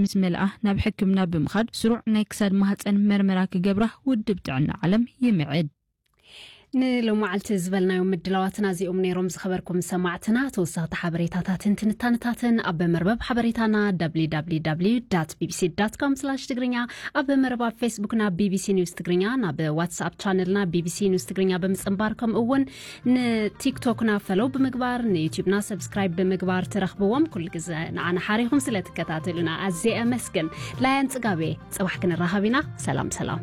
ምስ መልኣ ናብ ሕክምና ብምኻድ ስሩዕ ናይ ክሳድ ማህፀን መርመራ ክገብራ ውድብ ጥዕና ዓለም ይምዕድ። ንሎማዓልቲ ዝበልናዮም ምድላዋትና እዚኦም ነይሮም። ዝኸበርኩም ሰማዕትና፣ ተወሰኽቲ ሓበሬታታትን ትንታንታትን ኣብ መርበብ ሓበሬታና www ቢቢሲ com ትግርኛ፣ ኣብ መርበብ ፌስቡክና ቢቢሲ ኒውስ ትግርኛ፣ ናብ ዋትስኣፕ ቻነልና ቢቢሲ ኒውስ ትግርኛ ብምጽንባር፣ ከምኡ እውን ንቲክቶክና ፈሎው ብምግባር፣ ንዩቲዩብና ሰብስክራይብ ብምግባር ትረኽብዎም። ኩሉ ግዜ ንዓና ሓሪኹም ስለ ትከታተሉና ኣዝየ ኣመስግን። ላያን ጽጋቤ፣ ጽባሕ ክንራኸብ ኢና። ሰላም ሰላም።